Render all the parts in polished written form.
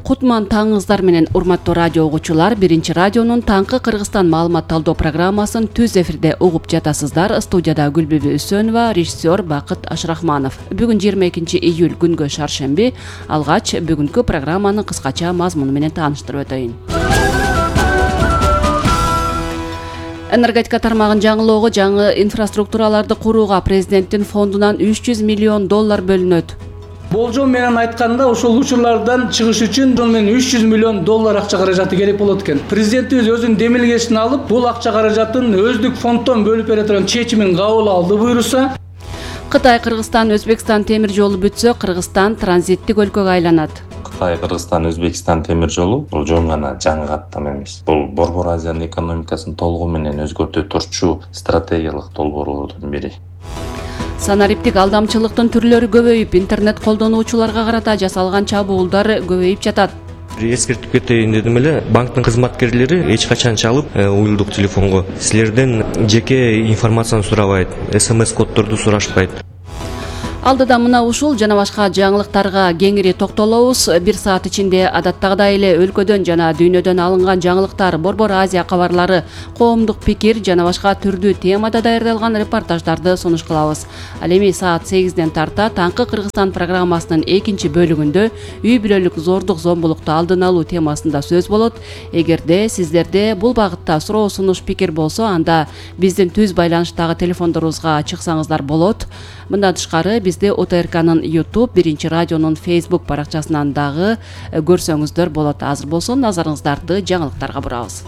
Кутман таңыңыздар менен урматтуу радио угуучулар, биринчи радионун таңкы Кыргызстан маалымат талдоо программасын түз эфирде угуп жатасыздар. Студияда Гүлбүбү Үсөнова, режиссер Бакыт Ашрахманов. Бүгүн 22 июль күнгө шаршемби. Алгач бүгүнкү программанын кыскача мазмуну менен тааныштырып өтөйүн. Энергетика тармагын жаңылоого, жаңы инфраструктураларды курууга президенттин фондунан $300 миллион бөлүнөт. Болжол менен айтканда, ошол учурлардан чыгыш үчүн $300 миллион акча каражаты керек болот экен. Президентибиз өзүнүн демилгесин алып, бул акча каражатын өздүк фонддон бөлүп бере турган чечимин кабыл алды буйруса. Кытай, Кыргызстан, Өзбекстан темир жолу бүтсө, Кыргызстан транзиттик өлкөгө айланат. Кытай, Кыргызстан, Өзбекстан темир жолу бул жөн гана жаңы каттам эмес. Бул Борбор Азиянын экономикасын толугу менен өзгөртө турчу стратегиялык долбоорлордун бири. Санариптик алдамчылыктын түрлөрү көбөйүп, интернет колдонуучуларга карата жасалган чабуулдар көбөйүп жатат. Эскертип кетейин дедим эле, банктын кызматкерлери эч качан чалып, уюлдук телефонго силерден жеке информацияны сурабайт, СМС коддорду сурашпайт. Алдыда мына ушул жана башка жаңылыктарга кеңири токтолобуз. 1 саат ичинде адаттагыдай эле өлкөдөн жана дүйнөдөн алынган жаңылыктар, Борбор Азия кабарлары, коомдук пикир жана башка түрдүү темада даярдалган репортаждарды сунуш кылабыз. Ал эми саат 8ден тарта таңкы Кыргызстан программасынын экинчи бөлүгүндө үй бүлөлүк зордук зомбулукту алдын алуу темасында сөз болот. Эгерде сиздерде бул багытта суроо сунуш пикир болсо, анда биздин түз байланыштагы телефондорубузга чыксаңыздар болот. Мындан тышкары бизди ОТРКнын YouTube, биринчи радионун Facebook баракчасынан дагы көрсөңүздөр болот. Азыр болсо назарыңыздарды жаңылыктарга бурабыз.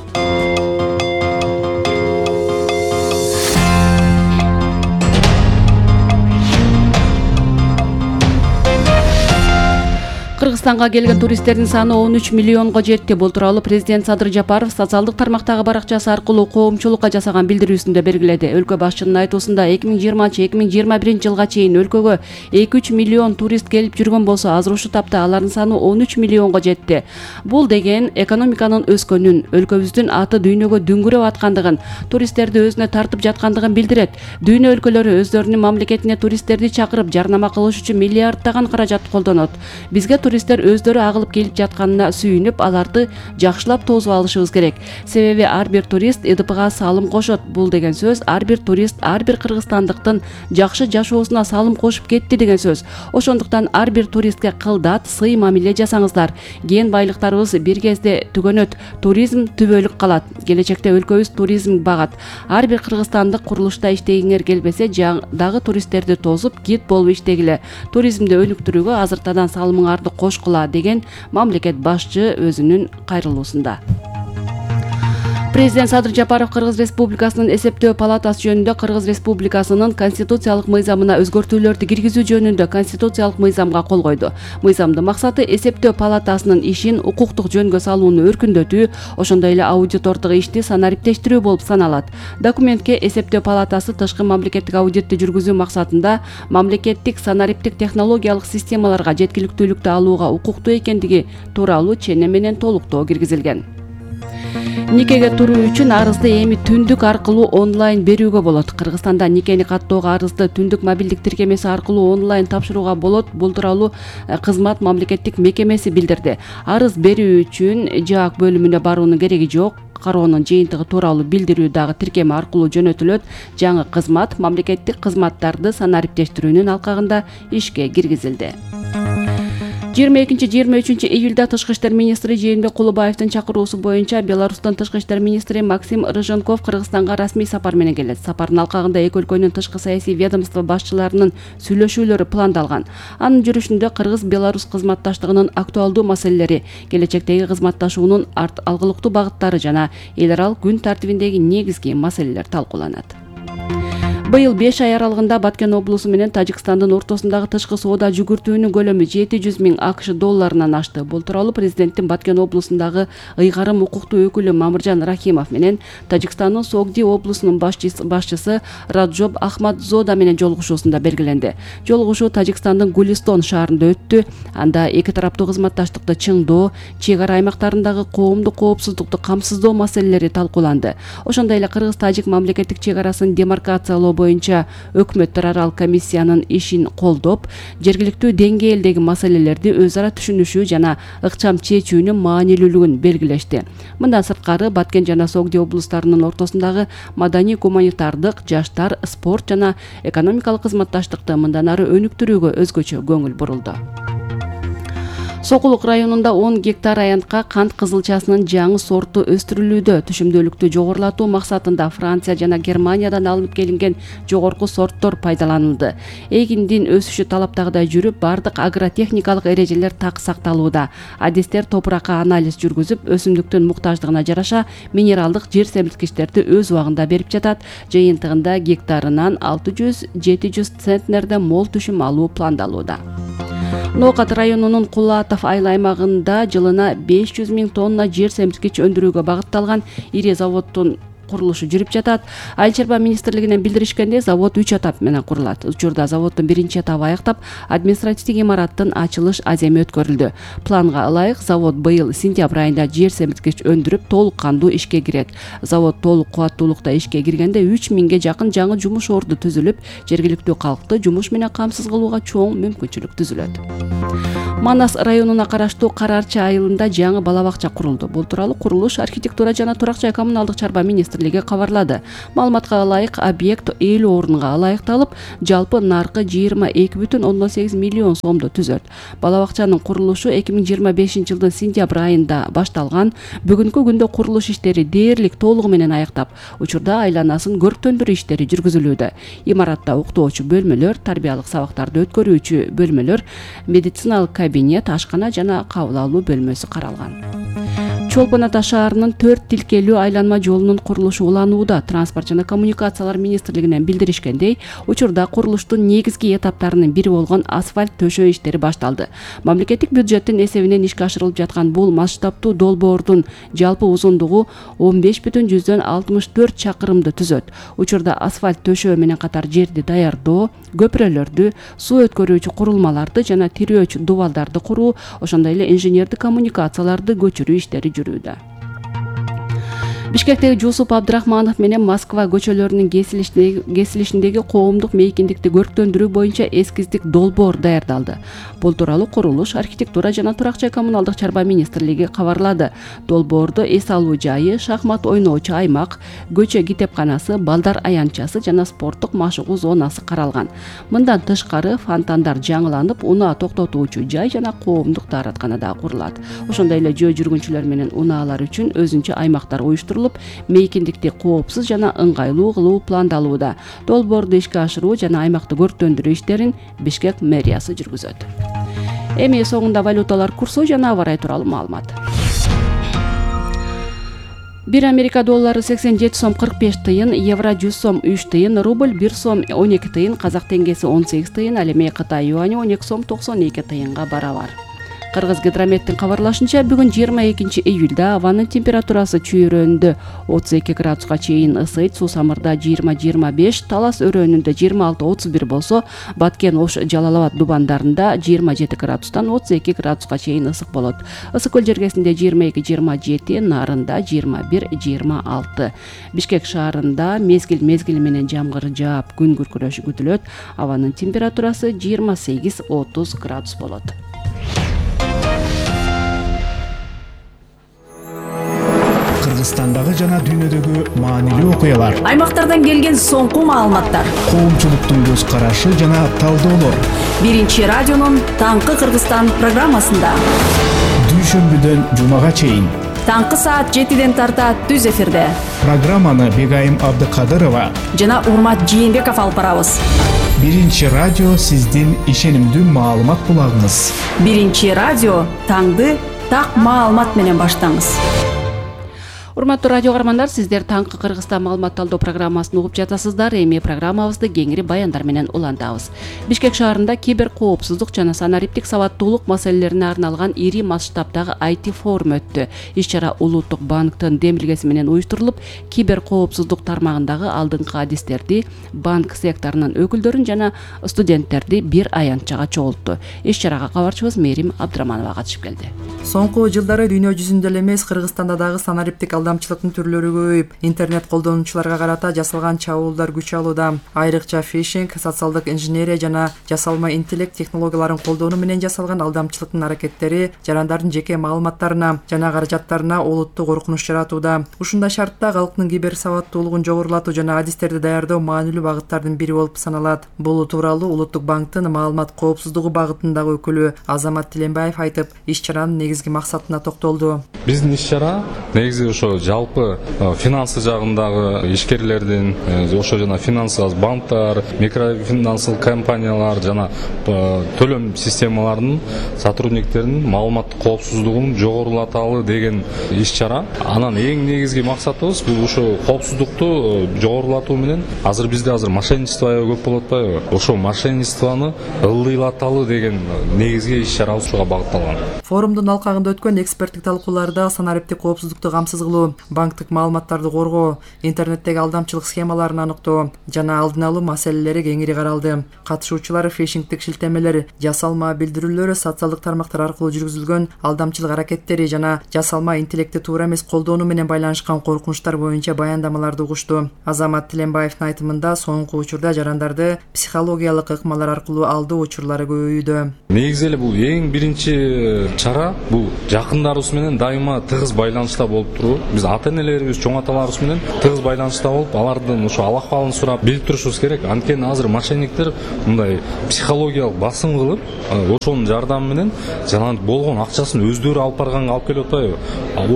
Кыргызстанга келген туристтердин саны 13 миллионго жетти. Бул тууралуу президент Садыр Жапаров социалдык тармактагы баракчасы аркылуу коомчулукка жасаган билдирүүсүндө белгиледи. Өлкө башчынын айтуусунда 2020-2021 жылга чейин өлкөгө 2-3 миллион турист келип жүргөн болсо, азыр ушул тапта алардын саны 13 миллионго жетти. Бул деген экономиканын өскөнүн, өлкөбүздүн аты дүйнөгө дүңгүрөп аткандыгын, туристтерди өзүнө тартып жаткандыгын билдирет. Дүйнө өлкөлөрү өздөрүнүн мамлекетине туристтерди чакырып, жарнама кылыш үчүн миллиарддаган каражат колдонот. Бизге туристтер өздөрү агылып келип жатканына сүйүнүп, аларды жакшылап тосуп алышыбыз керек. Себеби ар бир турист ЭДПга салым кошот. Бул деген сөз ар бир турист ар бир кыргызстандыктын жакшы жашоосуна салым кошуп кетти деген сөз. Ошондуктан ар бир туристке кылдат, сый мамиле жасаңыздар. Кен байлыктарыбыз бир кезде түгөнөт, туризм түбөлүк калат. Келечекте өлкөбүз туризм багат. Ар бир кыргызстандык курулушта иштегиңер келбесе, дагы туристтерди тосуп, гид болуп иштегиле. Туризмди өнүктүрүүгө азыртадан салымыңарды кошкула деген мамлекет башчы өзүнүн кайрылуусунда. Президент Садыр Жапаров Кыргыз Республикасынын эсептөө палатасы жөнүндө Кыргыз Республикасынын конституциялык мыйзамына өзгөртүүлөрдү киргизүү жөнүндө конституциялык мыйзамга кол койду. Мыйзамдын максаты эсептөө палатасынын ишин укуктук жөнгө салууну өркүндөтүү, ошондой эле аудитордук ишти санариптештирүү болуп саналат. Документке эсептөө палатасы тышкы мамлекеттик аудитти жүргүзүү максатында мамлекеттик санариптик технологиялык системаларга жеткиликтүүлүктү алууга укуктуу экендиги тууралуу чене менен толуктоо киргизилген. Никеге туруу үчүн арызды эми түндүк аркылуу онлайн берүүгө болот. Кыргызстанда никени каттоого арызды түндүк мобилдик тиркемеси аркылуу онлайн тапшырууга болот. Бул тууралуу кызмат мамлекеттик мекемеси билдирди. Арыз берүү үчүн ЖАК бөлүмүнө баруунун кереги жок. Кароонун жыйынтыгы тууралуу билдирүү дагы тиркеме аркылуу жөнөтүлөт. Жаңы кызмат мамлекеттик кызматтарды санариптештирүүнүн алкагында ишке киргизилди. 22-23 июлда Тышкы иштер министри Жээнбек Кулубаевдин чакыруусу боюнча Беларустун тышкы иштер министри Максим Рыженков Кыргызстанга расмий сапар менен келет. Сапардын алкагында эки өлкөнүн тышкы саясий ведомство башчыларынын сүйлөшүүлөрү пландалган. Анын жүрүшүндө Кыргыз-Беларус кызматташтыгынын актуалдуу маселелери, келечектеги кызматташуунун алгылыктуу багыттары жана эл аралык күн тартибиндеги негизги маселелер талкууланат. Быйыл 5 ай аралыгында Баткен облусу менен Тажикстандын ортосундагы тышкы соода жүгүртүүнүн көлөмү 700 000 АКШ долларынан ашты. Бул тууралуу президенттин Баткен облусундагы ыйгарым укуктуу өкүлү Мамыржан Рахимов менен Тажикстандын Согди облусунун башчысы Раджоб Ахмадзода менен жолугушуусунда белгиленди. Жолугушуу Тажикстандын Гулистон шаарында өттү. Анда эки тараптуу кызматташтыкты чыңдоо, чек ара аймактарындагы коомдук коопсуздукту камсыздоо маселелери талкууланды. Ошондой эле Кыргыз-Тажик мамлекеттик чек арасын демаркациялоо боюнча өкмөттөр аралык комиссиянын ишин колдоп, жергиликтүү деңгээлдеги маселелерди өз ара түшүнүшүү жана ыкчам чечүүнүн маанилүүлүгүн белгилешти. Мындан сырткары Баткен жана Согди облустарынын ортосундагы маданий гуманитардык, жаштар, спорт жана экономикалык кызматташтыкты мындан ары өнүктүрүүгө өзгөчө көңүл бурулду. Сокулук районунда 10 гектар аянтка кант кызылчасынын жаңы сорту өстүрүлүүдө. Түшүмдүүлүктү жогорулатуу максатында Франция жана Германиядан алынып келинген жогорку сорттор пайдаланылды. Эгиндин өсүшү талаптагыдай жүрүп, бардык агротехникалык эрежелер так сакталууда. Адистер топуракка анализ жүргүзүп, өсүмдүктүн муктаждыгына жараша минералдык жер семирткичтерди өз убагында берип жатат. Жыйынтыгында гектарынан 600-700 центнерден мол түшүм алуу пландалууда. Ноокат районунун Кулатов айыл аймагында жылына 500 000 тонна жер семирткич өндүрүүгө багытталган ири заводдун курулушу жүрүп жатат. Айыл чарба министрлигинен билдиришкенде, завод 3 этап менен курулат. Учурда заводдун биринчи этабы аяктап, административдик имараттын ачылыш аземи өткөрүлдү. Планга ылайык завод быйыл сентябрь айында жер семирткич өндүрүп, толук кандуу ишке кирет. Завод толук кубаттуулукта ишке киргенде 3000ге жакын жаңы жумуш орду түзүлүп, жергиликтүү калкты жумуш менен камсыз кылууга чоң мүмкүнчүлүк түзүлөт. Манас районуна караштуу Карарчы айылында жаңы бала бакча курулду. Бул тууралуу курулуш, архитектура жана турак жай коммуналдык чарба министрлиги кабарлады. Маалыматка ылайык, объект 50 орунга ылайыкталып, жалпы наркы 22,8 миллион сомду түзөт. Бала бакчанын курулушу 2025 жылдын сентябрь айында башталган. Бүгүнкү күндө курулуш иштери дээрлик толугу менен аяктап, учурда айланасын көрктөндүрүү иштери жүргүзүлүүдө. Имаратта уктоочу бөлмөлөр, тарбиялык сабактарды өткөрүүчү бөлмөлөр, медициналык кабинет, ашкана жана кабыл алуу бөлмөсү каралган. Чолпон Ата шаарынын 4 тилкелүү айланма жолунун курулушу уланууда. Транспорт жана коммуникациялар министрлигинен билдиришкендей, учурда курулуштун негизги этаптарынын бири болгон асфальт төшөө иштери башталды. Мамлекеттик бюджеттин эсебинен ишке ашырылып жаткан бул масштабтуу долбоордун жалпы узундугу 15,64 чакырымды түзөт. Учурда асфальт төшөө менен катар жерди даярдоо, көпүрөлөрдү, суу өткөрүүчү курулмаларды жана тирөөч дубалдарды куруу, ошондой эле инженердик коммуникацияларды көчүрүү иштери жүрүүдө. Бишкектеги Жусуп Абдрахманов менен Москва көчөлөрүнүн кесилишиндеги коомдук мейкиндикти көрктөндүрүү боюнча эскиздик долбоор даярдалды. Бул тууралуу курулуш, архитектура жана турак жай коммуналдык чарба министрлиги кабарлады. Долбоордо эс алуу жайы, шахмат ойноочу аймак, көчө китепканасы, балдар аянтчасы жана спорттук машыгуу зонасы каралган. Мындан тышкары фонтандар жаңыланып, унаа токтотуучу жай жана коомдук даараткана да курулат. Ошондой эле жөө жүргүнчүлөр менен унаалар үчүн өзүнчө аймактар уюштурулуп, мейкиндикти коопсуз жана ыңгайлуу кылуу пландалууда. Долбоорду ишке ашыруу жана аймакты көрктөндүрүү иштерин Бишкек мэриясы жүргүзөт. Эми соңунда валюталар курсу жана аба ырайы тууралуу маалымат. 1 Америка доллары 87 сом 45 тыйын, евро 100 сом 3 тыйын, рубль 1 сом 12 тыйын, казак теңгеси 18 тыйын, ал эми Кытай юани 12 сом 92 тыйынга барабар. Кыргыз гидрометтин кабарлашынча, бүгүн 22 июлда абанын температурасы чүйрөндө 32 градуска чейин ысыйт, Суусамырда 20-25, Талас өрөөнүндө 26-31 болсо, Баткен, Ош, Жалал-Абад дубандарында 27 градустан 32 градуска чейин ысык болот. Ысык көл жергесинде 22-27, Нарында 21-26. Бишкек шаарында мезгил менен жамгыр жаап, күн күркүрөшү күтүлөт. Абанын температурасы 28-30 градус болот. Кыргызстандагы жана дүйнөдөгү маанилүү окуялар, аймактардан келген соңку маалыматтар, коомчулуктун көз карашы жана талдоолор. Биринчи радионун Таңкы Кыргызстан программасында дүйшөмбүдөн жумага чейин таңкы саат 7ден тарта түз эфирде. Программаны Бегайым Абдыкадырова жана Урмат Жээнбеков алып барабыз. Биринчи радио сиздин ишенимдүү маалымат булагыңыз. Биринчи радио таңды так маалымат менен баштаңыз. Урматтуу радио каармандар, сиздер Таңкы Кыргызстан маалымат талдоо программасын угуп жатасыздар. Эми программабызды кеңири баяндар менен улантабыз. Бишкек шаарында кибер коопсуздук жана санариптик сабаттуулук маселелерине арналган ири масштабдагы IT форум өттү. Иш-чара Улуттук банктын демилгеси менен уюштурулуп, кибер коопсуздук тармагындагы алдыңкы адистерди, банк секторунун өкүлдөрүн жана студенттерди бир аянтчага чогултту. Иш-чарага кабарчыбыз Мерим Абдраманова катышып келди. Соңку жылдары дүйнө жүзүндө эле эмес, Кыргызстанда дагы санариптик алдамчылыктын түрлөрү көбөйүп, интернет колдонуучуларга карата жасалган чабуулдар күч алууда. Айрыкча фишинг, социалдык инженерия жана жасалма интеллект технологияларын колдонуу менен жасалган алдамчылыктын аракеттери жарандардын жеке маалыматтарына жана каражаттарына олуттуу коркунуч жаратууда. Ушундай шартта калктын киберсабаттуулугун жогорулатуу жана адистерди даярдоо маанилүү багыттардын бири болуп саналат. Бул тууралуу Улуттук банктын маалымат коопсуздугу багытындагы өкүлү Азамат Тиленбаев айтып, иш-чаранын негизги максатына токтолду. Биздин иш-чара негизи ошо жалпы финансы жагындагы ишкерлердин, ошо жана финансылык банктар, микрофинансылык компаниялар жана төлөм системаларынын сотрудниктеринин маалыматтык коопсуздугун жогорулаталы деген иш-чара. Анан эң негизги максатыбыз бул ошо коопсуздукту жогорулатуу менен азыр бизде мошенничество көп болуп атпайбы? Ошо мошенничествону ылдыйлаталы деген негизги иш-чара ушуга багытталган. Форумдун алкагында өткөн эксперттик талкууларда санариптик коопсуздукту камсыз кылуу, банктык маалыматтарды коргоо, интернеттеги алдамчылык схемаларын аныктоо жана алдын алуу маселелери кеңири каралды. Катышуучулар фишингдик шилтемелер, жасалма билдирүүлөр, социалдык тармактар аркылуу жүргүзүлгөн алдамчылык аракеттери жана жасалма интеллектти туура эмес колдонуу менен байланышкан коркунучтар боюнча баяндамаларды угушту. Азамат Тиленбаевдин айтымында соңку учурда жарандарды психологиялык ыкмалар аркылуу алдоо учурлары көбөйүүдө. Негизи эле бул эң биринчи чара бул жакындарыбыз менен дайыма тыгыз байланышта болуп туруу. Биз ата-энелерибиз, чоң аталарыбыз менен тыгыз байланышта болуп, алардын ошо ал-акыбалын сурап билип турушубуз керек. Анткени азыр мошенниктер мындай психологиялык басым кылып, ошонун жардамы менен жана болгон акчасын өздөрү алып барганга алып келип атпайбы?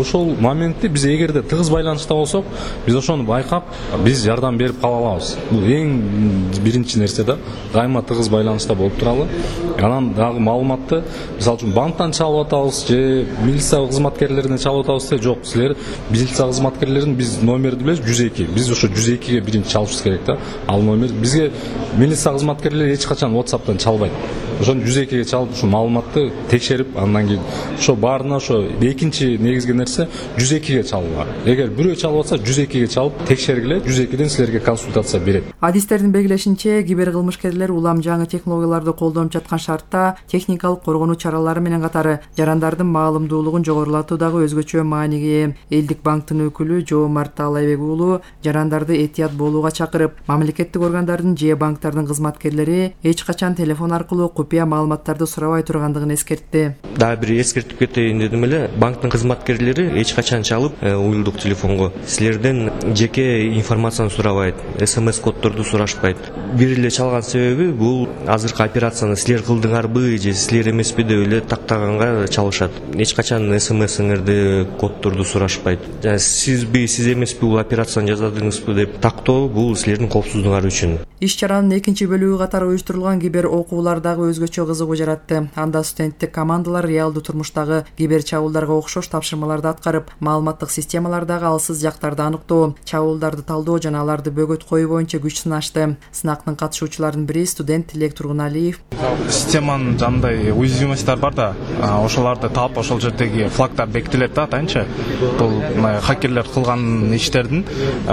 Ошол моментте биз эгерде тыгыз байланышта болсок, биз ошону байкап, биз жардам берип кала алабыз. Бул эң биринчи нерсе да, дайыма тыгыз байланышта болуп туралы. Анан дагы маалыматты, мисалы үчүн банктан чалып атабыз же милиция кызматкерлеринен чалып атабыз де, жок, силер милиция кызматкерлеринин биз номерди билебиз 102. Биз ошо 102ге биринчи чалышыбыз керек да. Ал номер бизге милиция кызматкерлери эч качан WhatsApp'тан чалбайт. Ошону 102ге чалып, ушу маалыматты текшерип, андан кийин ошо баарына ошо экинчи негизги нерсе 102ге чалуу. Эгер бирөө чалып атса 102ге чалып текшергиле, 102ден силерге консультация берет. Адистердин белгилешинче, кибер кылмышкерлер улам жаңы технологияларды колдонуп жаткан шартта техникалык коргонуу чаралары менен катары жарандардын маалымдуулугун жогорулатуу дагы өзгөчө мааниге ээ. Элдик банктын өкүлү Жоомарт Таалайбек уулу жарандарды этият болууга чакырып, мамлекеттик органдардын же банктардын кызматкерлери эч качан телефон аркылуу купуя маалыматтарды сурабай тургандыгын эскертти. Дагы бир эскертип кетейин дедим эле, банктын кызматкерлери эч качан чалып, уюлдук телефонго силерден жеке информацияны сурабайт, SMS коддорду сурашпайт. Бир эле чалган себеби бул азыркы операцияны силер кылдыңарбы же силер эмеспи деп эле тактаганга чалышат. Эч качан SMS-иңерди, коддорду сурашпайт. Сизби, сиз эмеспи бул операцияны жасадыңызбы деп тактоо бул силердин коопсуздугуңар үчүн. Иш-чаранын экинчи бөлүгү катары уюштурулган кибер окуулар дагы өзгөчө кызыгуу жаратты. Анда студенттик командалар реалдуу турмуштагы кибер чабуулдарга окшош тапшырмаларды аткарып, маалыматтык системалардагы алсыз жактарды аныктоо, чабуулдарды талдоо жана аларды бөгөт коюу боюнча күч сынашты. Сынактын катышуучуларынын бири студент Тилек Тургуналиев. Системанын жандай уязвимосттар бар да, ошолорду таап, ошол жердеги флагдар бекитилет да, атайынчы. Бул хакерлер кылган иштердин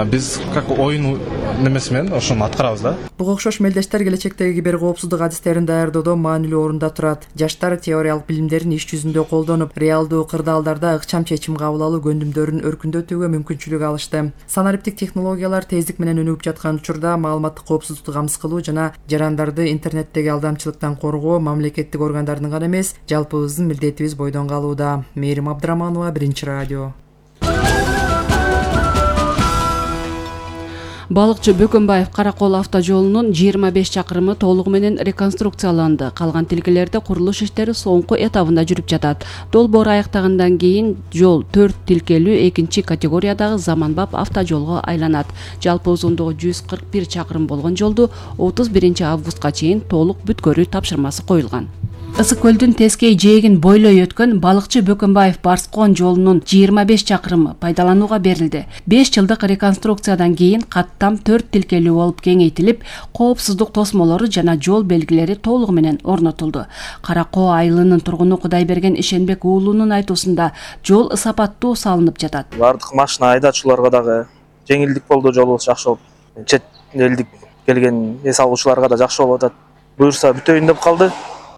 биз как оюн немеси менен ошону аткарабыз да. Буга окшош мелдештер келечектеги кибер коопсуздук адистерин даярдоодо маанилүү орунда турат. Жаштар теориялык билимдерин иш жүзүндө колдонуп, реалдуу кырдаалдарда ыкчам чечим кабыл алуу көндүмдөрүн өркүндөтүүгө мүмкүнчүлүк алышты. Санариптик технологиялар тездик менен өнүгүп жаткан учурда маалыматтык коопсуздукту камсыз кылуу жана жарандарды интернеттеги алдамчылыктан коргоо мамлекеттик органдардын гана эмес, жалпыбыздын милдетибиз бойдон калууда. Мээрим Абдыраманова, Биринчи радио. Балыкчы Бөкөнбаев Каракол автожолунун 25 чакырымы толугу менен реконструкцияланды. Калган тилкелерде курулуш иштери соңку этабында жүрүп жатат. Долбоор аяктагандан кийин жол 4 тилкелүү экинчи категориядагы заманбап автожолго айланат. Жалпы узундугу 141 чакырым болгон жолду 31 августка чейин толук бүткөрүү тапшырмасы коюлган. Ысык көлдүн тескей жээгин бойлой өткөн Балыкчы Бөкөнбаев Барскон жолунун 25 чакырымы пайдаланууга берилди. 5 жылдык реконструкциядан кийин каттам 4 тилкелүү болуп кеңейтилип, коопсуздук тосмолору жана жол белгилери толугу менен орнотулду. Каракоо айылынын тургуну Кудайберген Ишенбек уулунун айтуусунда жол сапаттуу салынып жатат. Бардык машина айдачуларга дагы жеңилдик болду, жолубуз жакшы болуп, чет элдик келген эс алуучуларга да жакшы болуп атат. Буюрса бүтөйүн деп калды.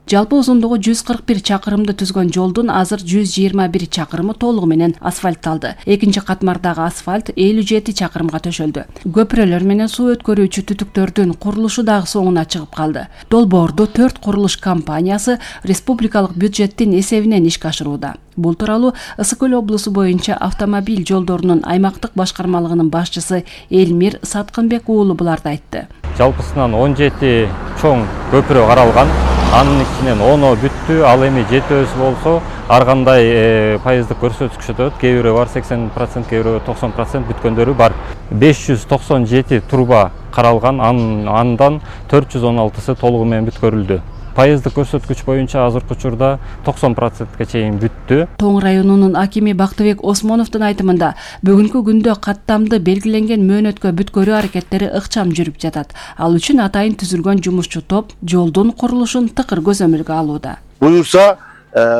Жалпы узундугу 141 чакырымды түзгөн жолдун азыр 121 чакырымы толугу менен асфальтталды. Экинчи катмардагы асфальт 57 чакырымга төшөлдү. Көпүрөлөр менен суу өткөрүүчү түтүктөрдүн курулушу дагы соңуна чыгып калды. Долбоорду 4 курулуш компаниясы республикалык бюджеттин эсебинен ишке ашырууда. Бул тууралуу Ысык Көл облусу боюнча автомобиль жолдорунун аймактык башкармалыгынын башчысы Элмир Саткынбек уулу буларды айтты. Жалпысынан 17 чоң көпүрө каралган. Анын ичинен 10 бүттү, ал эми 7 болсо ар кандай пайыздык көрсөткүчтө кээ бирөө бар 80%, кээ бирөө 90% бүткөндөрү бар. 597 труба каралган, андан 416сы толугу менен бүткөрүлдү. Пайыздык көрсөткүч боюнча азыркы учурда 90%га чейин бүттү. Тоң районунун акими Бактыбек Осмоновдун айтымында бүгүнкү күндө каттамды белгиленген мөөнөткө бүткөрүү аракеттери ыкчам жүрүп жатат. Ал үчүн атайын түзүлгөн жумушчу топ жолдун курулушун тыкыр көзөмөлгө алууда. Буюрса,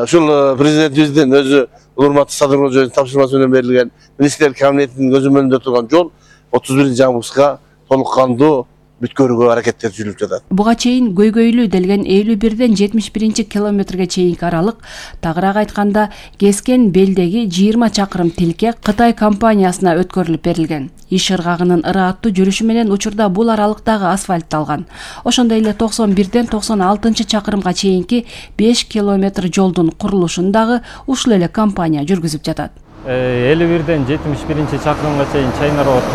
ушул президентибиздин өзү урматтуу Садыр Кожоевдун тапшырмасы менен берилген министрлер кабинетинин көзөмөлүндө турган жол 31-августка толук кандуу бүткөрүүгө аракеттер жүрүп жатат. Буга чейин көйгөйлүү делген 51-ден 71 километрге чейинки аралык, тагыраак айтканда Кескен белдеги 20 чакырым тилке Кытай компаниясына өткөрүлүп берилген. Иш ыргагынын ырааттуу жүрүшү менен учурда бул аралыктагы асфальтталган. Ошондой эле 91-ден 96 чакырымга чейинки 5 километр жолдун курулушун дагы ушул эле компания жүргүзүп жатат. 51-ден 71 чакырымга чейин Чайнарод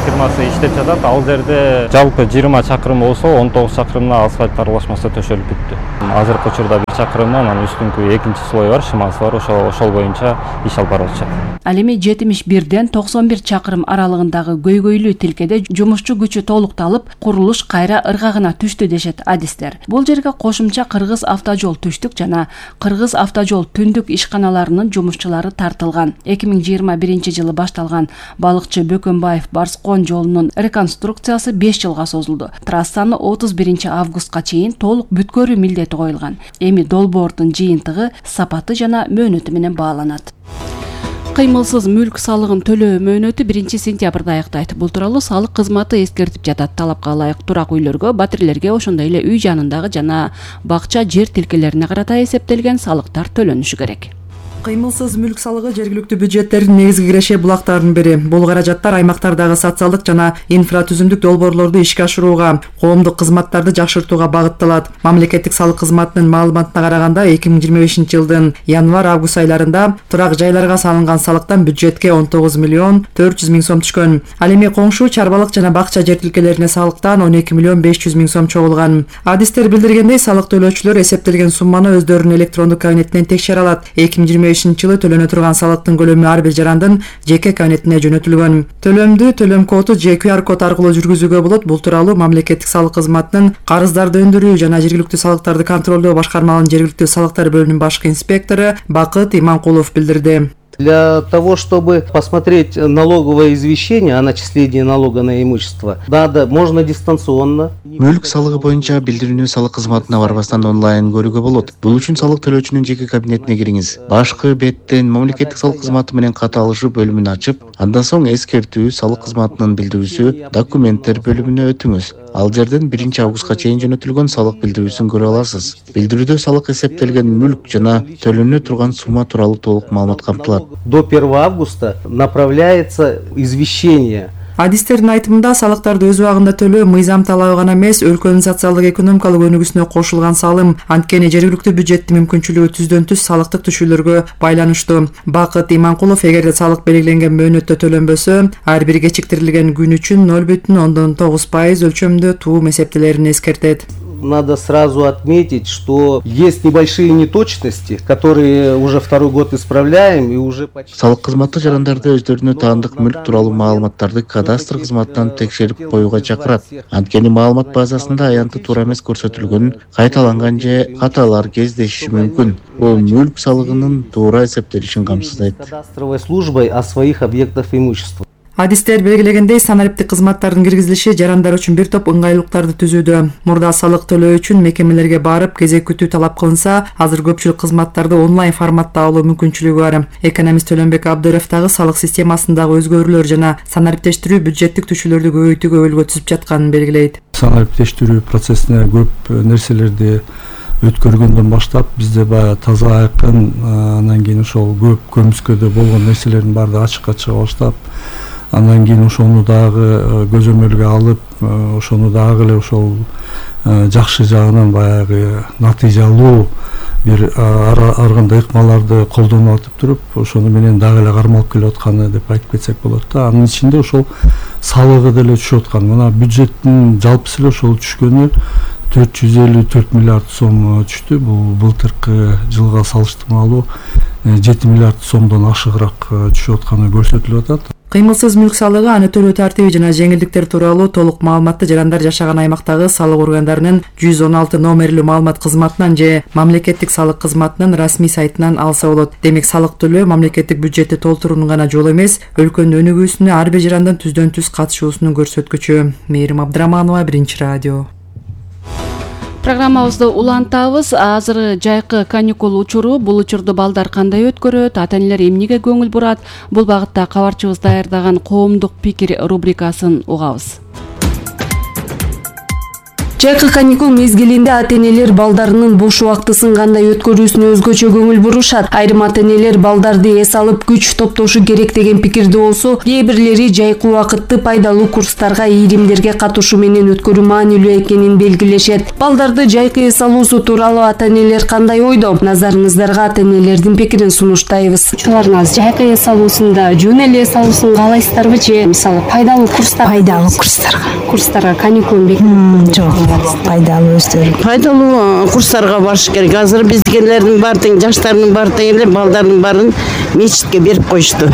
фирмасы иштеп жатат. Ал жерде жалпы 20 чакырым болсо 19 чакырымына асфальт аралашмасы төшөлүп бүттү. Азыркы учурда 1 чакырымдан анан үстүнкү экинчи слой бар, шымасы бар, ошол боюнча иш алып барып жатат. Ал эми 71-ден 91 чакырым аралыгындагы көйгөйлүү тилкеде жумушчу күчү толукталып, курулуш кайра ыргагына түштү дешет адистер. Бул жерге кошумча Кыргыз автожол түштүк жана Кыргыз автожол түндүк ишканаларынын жумушчулары тартылган. 2021 жылы башталган Балыкчы Бөкөнбаев Барскон жолунун реконструкциясы 5 жылга созулду. Трассаны 31 августка чейин толук бүткөрүү милдети коюлган. Эми долбоордун жыйынтыгы, сапаты жана мөөнөтү менен бааланат. Кыймылсыз мүлк салыгын төлөө мөөнөтү 1 сентябрда аяктайт. Бул тууралуу салык кызматы эскертип жатат. Талапка ылайык турак үйлөргө, батирлерге, ошондой эле үй жанындагы жана бакча жер тилкелерине карата эсептелген салыктар төлөнүшү керек. Кыймылсыз мүлк салыгы жергиликтүү бюджеттердин негизги киреше булактарынын бири. Бул каражаттар аймактардагы социалдык жана инфратүзүмдүк долбоорлорду ишке ашырууга, коомдук кызматтарды жакшыртууга багытталат. Мамлекеттик салык кызматынын маалыматына караганда 2025 жылдын январь-август айларында турак жайларга салынган салыктан бюджетке 19 миллион 400 миң сом түшкөн. Ал эми коңшу чарбалык жана бакча жер тилкелерине салыктан 12 миллион 500 миң сом чогулган. Адистер билдиргендей, салык төлөөчүлөр эсептелген сумманы өздөрүнүн электрондук кабинетинен текшере алат. 2025 жылы төлөнө турган салыктын көлөмү ар бир жарандын жеке кабинетине жөнөтүлгөн. Төлөмдү төлөм коду же QR код аркылуу жүргүзүүгө болот. Бул тууралуу мамлекеттик салык кызматынын карыздарды өндүрүү жана жергиликтүү салыктарды контролдоо башкармалыгынын жергиликтүү салыктар бөлүмүнүн башкы инспектору Бакыт Иманкулов билдирди. Для того, чтобы посмотреть налоговое извещение о начислении налога на имущество, можно дистанционно. Мүлк салыгы боюнча билдирүүнү салык кызматына барбастан онлайн көрүүгө болот. Бул үчүн салык төлөөчүнүн жеке кабинетине кириңиз. Башкы беттен мамлекеттик салык кызматы менен кат алышуу бөлүмүн ачып, андан соң эскертүү салык кызматынын билдирүүсү документтер бөлүмүнө өтүңүз. Ал жерден 1 августка чейин жөнөтүлгөн салык билдирүүсүн көрө аласыз. Билдирүүдө салык эсептелген мүлк жана төлөнө турган сумма тууралуу толук маалымат камтылат. До 1 августа направляется извещение. Адистердин айтымында салыктарды өз убагында төлөө мыйзам талабы гана эмес, өлкөнүн социалдык экономикалык өнүгүүсүнө кошулган салым. Анткени жергиликтүү бюджеттин мүмкүнчүлүгү түздөн түз салыктык түшүүлөргө байланыштуу. Бакыт Иманкулов, эгерде салык белгиленген мөөнөттө төлөнбөсө, ар бир кечиктирилген күн үчүн 0,9% өлчөмдө туум эсептелерин эскертет. Надо сразу отметить, что есть небольшие неточности, которые уже второй год исправляем и уже почти. Салык кызматы жарандарды өздөрүнө таандык мүлк тууралуу маалыматтарды кадастр кызматынан текшерип коюуга чакырат. Анткени маалымат базасында аянты туура эмес көрсөтүлгөн, кайталанган же каталар кездешиши мүмкүн. Бул мүлк салыгынын туура эсептелишин камсыздайт. Кадастровой службой о своих объектах имущества. Адистер белгилегендей, санариптик кызматтардын киргизилиши жарандар үчүн бир топ ыңгайлуулуктарды түзүүдө. Мурда салык төлөө үчүн мекемелерге барып кезек күтүү талап кылынса, азыр көпчүлүк кызматтарды онлайн форматта алуу мүмкүнчүлүгү бар. Экономист Төлөнбек Абдыров дагы салык системасындагы өзгөрүүлөр жана санариптештирүү бюджеттик түшүүлөрдү көбөйтүүгө өлгө түзүп жатканын белгилейт. Санариптештирүү процессине көп нерселерди өткөргөндөн баштап бизде баягы таза айкын, анан кийин ошол көп көмүскөдө болгон нерселердин баардыгы ачыкка чыга баштап, андан кийин ошону дагы көзөмөлгө алып, ошону дагы эле ошол жакшы жагынан баягы натыйжалуу бир ар кандай ыкмаларды колдонуп атып туруп, ошону менен дагы эле кармалып келип атканы деп айтып кетсек болот да. Анын ичинде ошол салыгы деле түшүп аткан. Мына бюджеттин жалпысы эле ошол түшкөнү 454 миллиард сом түштү. Бул былтыркы жылга салыштырмалуу 7 миллиард сомдон ашыгыраак түшүп атканы көрсөтүлүп атат. Кыймылсыз мүлк салыгы, аны төлөө тартиби жана жеңилдиктер тууралуу толук маалыматты жарандар жашаган аймактагы салык органдарынын 116 номерлүү маалымат кызматынан же мамлекеттик салык кызматынын расмий сайтынан алса болот. Демек салык төлөө мамлекеттик бюджетти толтуруунун гана жолу эмес, өлкөнүн өнүгүүсүнө ар бир жарандын түздөн түз катышуусунун көрсөткүчү. Мээрим Абдыраманова, Биринчи радио. Программабызды улантабыз. Азыр жайкы каникул учуру. Бул учурду балдар кандай өткөрөт, ата-энелер эмнеге көңүл бурат? Бул багытта кабарчыбыз даярдаган коомдук пикир рубрикасын угабыз. Жайкы каникул мезгилинде ата-энелер балдарынын бош убактысын кандай өткөрүүсүнө өзгөчө көңүл бурушат. Айрым ата-энелер балдарды эс алып күч топтошу керек деген пикирде болсо, кээ бирлери жайкы убакытты пайдалуу курстарга, ийримдерге катышуу менен өткөрүү маанилүү экенин белгилешет. Балдарды жайкы эс алуусу тууралуу ата-энелер кандай ойдо? Назарыңыздарга ата-энелердин пикирин сунуштайбыз. Учурларыңыз жайкы эс алуусунда жөн эле эс алуусун каалайсыздарбы же мисалы пайдалуу курстарга каникулун бекитип? Жок. Пайдалуу өздөрү. Пайдалуу курстарга барыш керек. Азыр биздикилердин баары тең, жаштардын баары тең эле балдардын баарын мечитке берип коюшту.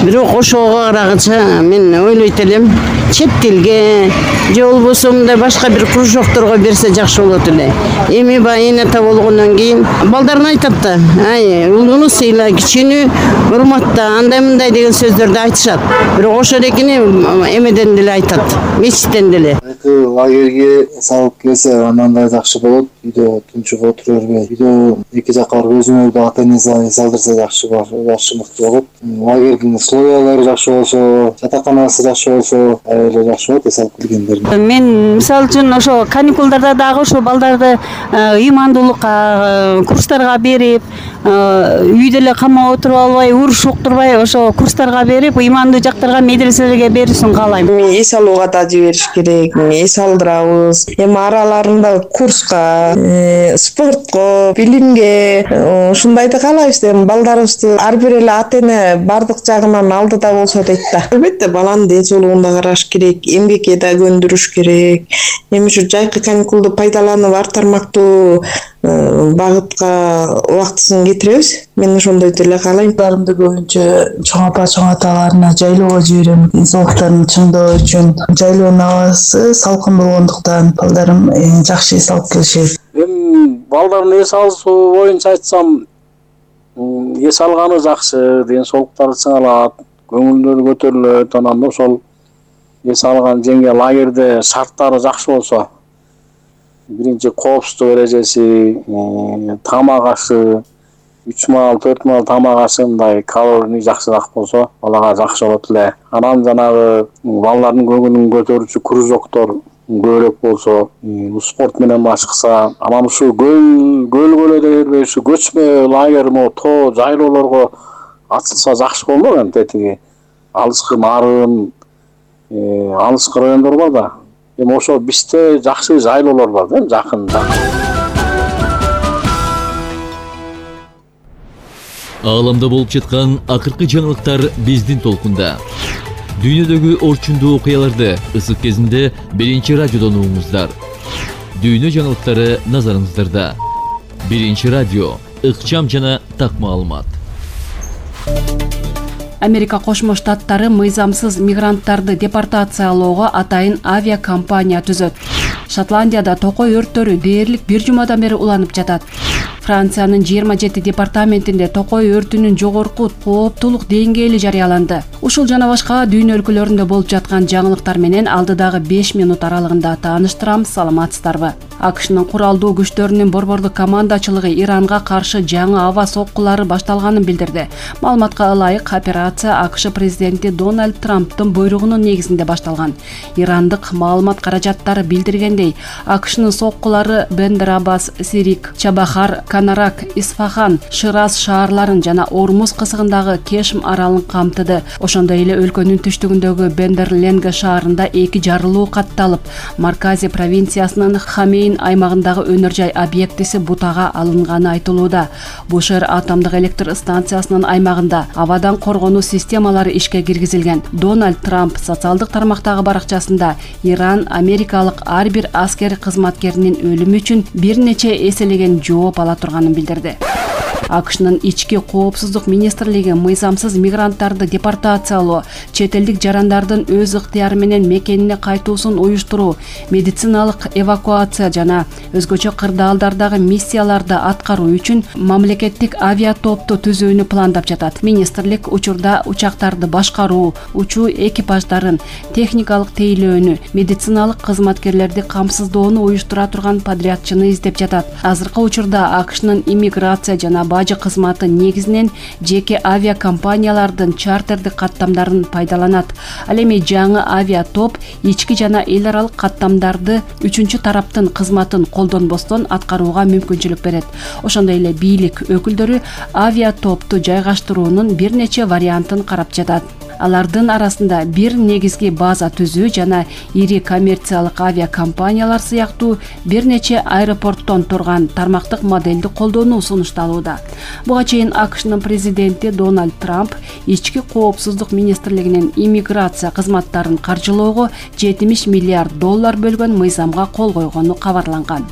Бирок ошого карагыча мен ойлойт элем, чет тилге же болбосо мындай башка бир кружокторго берсе жакшы болот эле. Эми баягы эне ата болгондон кийин балдарына айтат да, ай, улууну сыйла, кичүүнү урматта, андай мындай деген сөздөрдү айтышат. Бирок ошол экени эмеден деле айтат, мечиттен деле. Лагерге салып келсе анандай жакшы болот. Үйдө тунчуга отура бербей, үйдө эки жакка барып өзүңөрдү ата-энеңизге салдырса жакшы мыкты болот. Лагердин условиялары жакшы болсо, жатаканасы жакшы болсо, аябай жакшы болот эс алып келгендердин. Мен мисалы үчүн ошо каникулдарда дагы ошо балдарды ыймандуулукка, курстарга берип, үйдө эле камап отуруп албай, уруш уктурбай, ошо курстарга берип, ыймандуу жактарга, медреселерге берүүсүн каалайм. Эс алууга да жибериш керек, эс алдырабыз. Эми араларында курска, спортко, билимге ушундайды каалайбыз. Балдарыбызды ар бир эле ата-эне бардык жагынан алдыда болсо дейт да. Албетте баланын ден соолугун да караш керек, эмгекке да көндүрүш керек. Эми ушу жайкы каникулду пайдаланып ар тармактуу багытка убактысын кетиребиз. Мен ошондой деле каалайм. Балдарымды көбүнчө чоң аталарына жайлоого жиберем. Ден соолуктарын чыңдоо үчүн жайлоонун абасы салкын болгондуктан балдарым жакшы эс алып келишет. Эми балдардын эс алуусу боюнча айтсам, эс алганы жакшы, ден соолуктары чыңалат, көңүлдөрү көтөрүлөт. Анан ошол эс алган жеңге лагерде шарттары жакшы болсо, биринчи коопсуздук эрежеси, тамак ашы, 3 маал, 4 маал тамак ашы мындай калорийни жакшыраак болсо, балага жакшы болот эле. Анан жанагы балдардын көңүлүн көтөрүүчү кружоктор көбүрөөк болсо, спорт менен башкаса, анан ушу көлгө эле бербей, ушу көчмө лагерь, тоо жайлоолорго ачылса жакшы болмок. Эми тетиги алыскы нарын, алыскы райондор бар да. Эми ошо бизде жакшы жайлоолор бар да, жакын. Ааламда болуп жаткан акыркы жаңылыктар биздин толкунда. Дүйнөдөгү орчундуу окуяларды ысык кезинде Биринчи радиодон угуңуздар. Дүйнө жаңылыктары назарыңыздарда. Биринчи радио, ыкчам жана так маалымат. Америка Кошмо Штаттары мыйзамсыз мигранттарды депортациялоого атайын авиакомпания түзөт. Шотландияда токой өрттөрү дээрлик бир жумадан бери уланып жатат. Франциянын 27 департаментинде токой өртүнүн жогорку кооптуулук деңгээли жарыяланды. Ушул жана башка дүйнө өлкөлөрүндө болуп жаткан жаңылыктар менен алдыдагы 5 минут аралыгында тааныштырам. Саламатсыздарбы? АКШнын куралдуу күчтөрүнүн борбордук командачылыгы Иранга каршы жаңы аба соккулары башталганын билдирди. Маалыматка ылайык, операция АКШ президенти Дональд Трамптын буйругунун негизинде башталган. Ирандык маалымат каражаттары билдиргендей, АКШнын соккулары Бендер Аббас, Сирик, Чабахар, Канарак, Исфахан, Шираз шаарларын жана Ормуз кысыгындагы Кешм аралын камтыды. Ошондой эле өлкөнүн түштүгүндөгү Бендер-Ленге шаарында 2 жарылуу катталып, Маркази провинциясынын Хамейн аймагындагы өнөр жай объектиси бутага алынганы айтылууда. Бушер атомдук электр станциясынын аймагында абадан коргонуу системалары ишке киргизилген. Дональд Трамп социалдык тармактагы баракчасында Иран америкалык ар бир аскер кызматкеринин өлүмү үчүн бир нече эселеген жооп ала турганын билдирди. АКШнын ички коопсуздук министрлиги мыйзамсыз мигранттарды депортациялоо, чет элдик жарандардын өз ыктыяры менен мекенине кайтуусун уюштуруу, медициналык эвакуация жана өзгөчө кырдаалдардагы миссияларды аткаруу үчүн мамлекеттик авиатопту түзүүнү пландап жатат. Министрлик учурда учактарды башкаруу, учуу экипаждарын, техникалык тейлөөнү, медициналык кызматкерлерди камсыздоону уюштура турган подрядчыны издеп жатат. Азыркы учурда АКШнын иммиграция жана бажы кызматы негизинен жеке авиакомпаниялардын чартердик каттамдарын пайдаланат. Ал эми жаңы авиатоп ички жана эл аралык каттамдарды үчүнчү тараптын кызматын колдонбостон аткарууга мүмкүнчүлүк берет. Ошондой эле бийлик өкүлдөрү авиатопту жайгаштыруунун бир нече вариантын карап жатат. Алардын арасында бир негизги база түзүү жана ири коммерциялык авиакомпаниялар сыяктуу бир нече аэропорттон турган тармактык моделди колдонуу сунушталууда. Буга чейин АКШнын президенти Дональд Трамп ички коопсуздук министрлигинин иммиграция кызматтарын каржылоого $70 миллиард бөлгөн мыйзамга кол койгону кабарланган.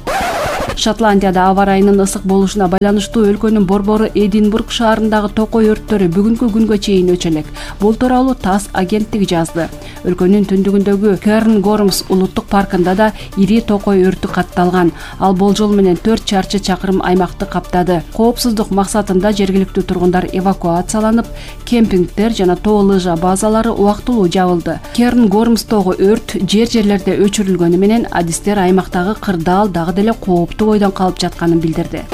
Шотландияда аба ырайынын ысык болушуна байланыштуу өлкөнүн борбору Эдинбург шаарындагы токой өрттөрү бүгүнкү күнгө чейин өчөлөк. Бул тууралуу ТАСС агенттиги жазды. Өлкөнүн түндүгүндөгү Керн-Гормс улуттук паркында да ири токой өртү катталган. Ал болжол менен 4 чарчы чакырым аймакты каптады. Коопсуздук максатында жергиликтүү тургундар эвакуацияланып, кемпингдер жана тоо лыжа базалары убактылуу жабылды. Керн-Гормстогу өрт жерлерде өчүрүлгөнү менен адистер аймактагы кырдаал дагы деле кооптуу бойдон калып жатканын билдирди.